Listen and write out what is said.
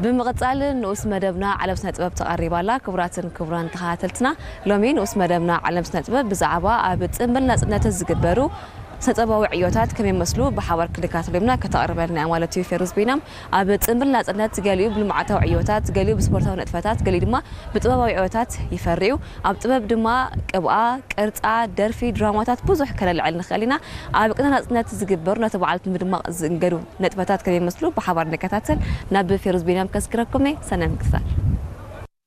ብምቕጻል ንኡስ መደብና ዓለም ስነ ጥበብ ተቐሪባ ኣላ። ክቡራትን ክቡራን ተኸታተልትና፣ ሎሚ ንኡስ መደብና ዓለም ስነ ጥበብ ብዛዕባ ኣብ ጽምብል ናጽነት ዝግበሩ ስነ ጥበባዊ ዕዮታት ከመይ ይመስሉ ብሓባር ክንከታተሎም ኢና። ከተቕርበልና እያ ማለት እዩ ፌሩዝ ቢናም። ኣብ ጽምብል ናጽነት ገሊኡ ብልምዓታዊ ዕዮታት፣ ገሊኡ ብስፖርታዊ ንጥፈታት፣ ገሊኡ ድማ ብጥበባዊ ዕዮታት ይፈርዩ። ኣብ ጥበብ ድማ ቅብኣ፣ ቅርጻ፣ ደርፊ፣ ድራማታት ብዙሕ ከነልዕል ንኽእል ኢና። ኣብ ቅነ ናጽነት ዝግበሩ ነቲ በዓል ብምድማቕ ዝእንገዱ ንጥፈታት ከመይ ይመስሉ ብሓባር ንከታተል ናብ ፌሩዝ ቢናም ከስግረኩም እየ። ሰናይ ምክትታል።